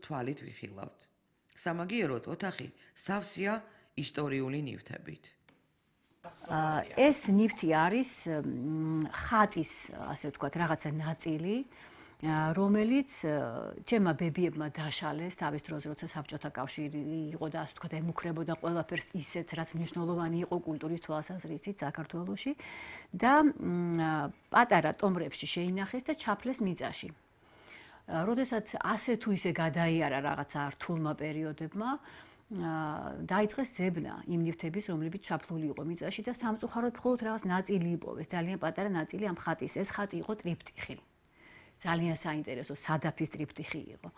თვალით ვიხილავთ. სამაგიეროდ ოთახი სავსეა ისტორიული ნივთებით. ეს ნივთი არის ხატის, ასე ვთქვათ, რაღაცა ნაწილი, რომელიც ჩემმა ბებიებმა დაშალეს თავის დროზე, როცა საბჭოთა კავშირი იყო და ასე ვთქვათ, ემუქრებოდა ყველაფერს ისეთს, რაც მნიშვნელოვანი იყო კულტურის თვალსაზრისით საქართველოში და პატარა ტომრებში შეინახეს და ჩაფლეს მიწაში. როდესაც ასე თუ ისე გადაიარა რაღაცა რთულმა პერიოდებმა, დაიწყეს ძებნა იმ ნივთების, რომლებიც ჩაფლული იყო მიწაში და სამწუხაროდ მხოლოდ რაღაც ნაწილი იპოვეს, ძალიან პატარა ნაწილი ამ ხატის. ეს ხატი იყო ტრიპტიხი. ძალიან საინტერესო სადაფის ტრიპტიხი იყო.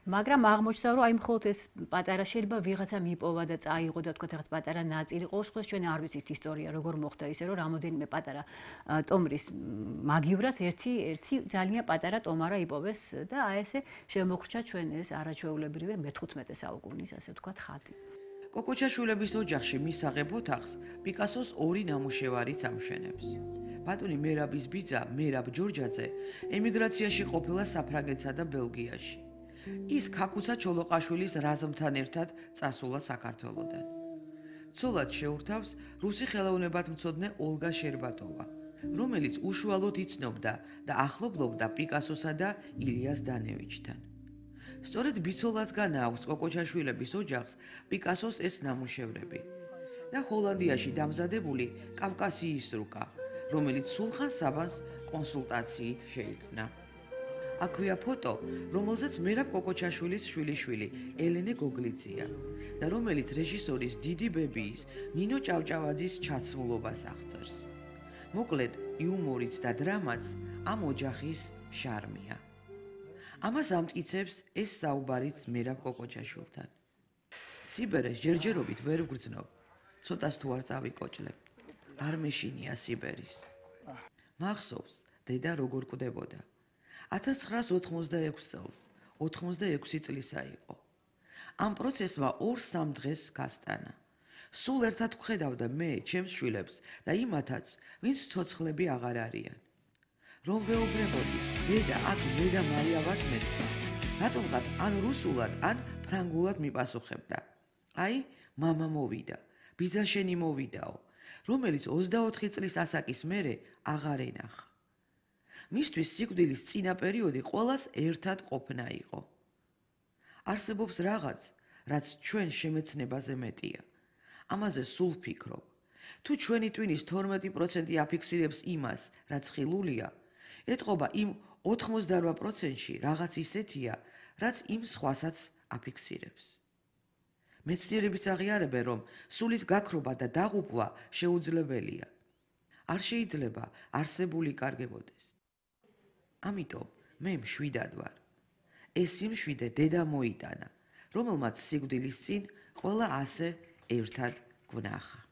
მაგრამ აღმოჩნდა, რომ აი მხოლოდ ეს პატარა შეიძლება ვიღაცამ იპოვა და წაიღო და თქვა რაღაც პატარა ნაწილი. ყოველ შემთხვევაში ჩვენ არ ვიცით ისტორია როგორ მოხდა ისე, რომ რამოდენიმე პატარა ტომრის მაგივრად ერთი ძალიან პატარა ტომარა იპოვეს და აი ესე შემოგრჩა ჩვენ ეს არაჩვეულებრივი მე-15 საუკუნის ასე ვთქვათ ხატი. კოკოჩაშვილების ოჯახში მისაღებ ოთახს პიკასოს ორი ნამუშევარიც ამშვენებს. ბატონი მერაბის ბიძა მერაბ ჯორჯაძე ემიგრაციაში ყოფილა საფრანგეთსა და ბელგიაში. ის ქაკუცა ჩოლოყაშვილის რაზმთან ერთად წასულა საქართველოდან. ცოლად შეურთავს რუსი ხელოვნებათმცოდნე ოლგა შერბატოვა, რომელიც უშუალოდ იცნობდა და ახლობლობდა პიკასოსა და ილიას დანევიჩთან. სწორედ ბიცოლას განააქვს კოკოჩაშვილების ოჯახს პიკასოს ეს ნამუშევრები და ჰოლანდიაში დამზადებული კავკასიის რუკა, რომელიც სულხან საბანს კონსულტაციით შეიქმნა. აქვეა ფოტო, რომელზეც მერაბ კოკოჩაშვილის შვილიშვილი ელენე გოგლიძია და რომელიც რეჟისორის დიდი ბებიის ნინო ჭავჭავაძის ჩაცმულობას აღწერს. მოკლედ, იუმორიც და დრამაც ამ ოჯახის შარმია. ამას ამტკიცებს ეს საუბარიც მერაბ კოკოჩაშვილთან. სიბერეს ჯერჯერობით ვერ ვგრძნობ, ცოტას თუ არ წავიკოჭლებ. არ მეშინია სიბერის. მახსოვს, დედა როგორ კვდებოდა. 1986 წელს, 86 წლისა იყო. ამ პროცესმა 2-3 დღეს გასტანა. სულ ერთად ვხედავდა მე ჩემს შვილებს და იმათაც, ვინც ცოცხლები აღარ არიან. რომ ვეუბნებოდი, დედა აქ მე და მარია ვართ მეთქვა. რატომღაც ან რუსულად, ან ფრანგულად მიპასუხებდა. აი, მამა მოვიდა, ბიძა შენი მოვიდაო, რომელიც 24 წლის ასაკის მერე აღარ ენახა. მისთვის სიკვდილის წინა პერიოდი ყველას ერთად ყოფნა იყო. არსებობს რაღაც, რაც ჩვენ შემეცნებაზე მეტია. ამაზე სულ ვფიქრობ. თუ ჩვენი ტვინის 12% აფიქსირებს იმას, რაც ხილულია, ეთყობა იმ 88%-ში რაღაც ისეთია, რაც იმ სხვასაც აფიქსირებს. მეცნიერებიც აღიარებენ, რომ სულის გაქრობა და დაღუპვა შეუძლებელია. არ შეიძლება არსებული კარგებოდეს. ამიტომ მე მშვიდად ვარ. ეს სიმშვიდე დედა მოიტანა, რომელმაც სიკვდილის წინ ყველა ასე ერთად გვნახა.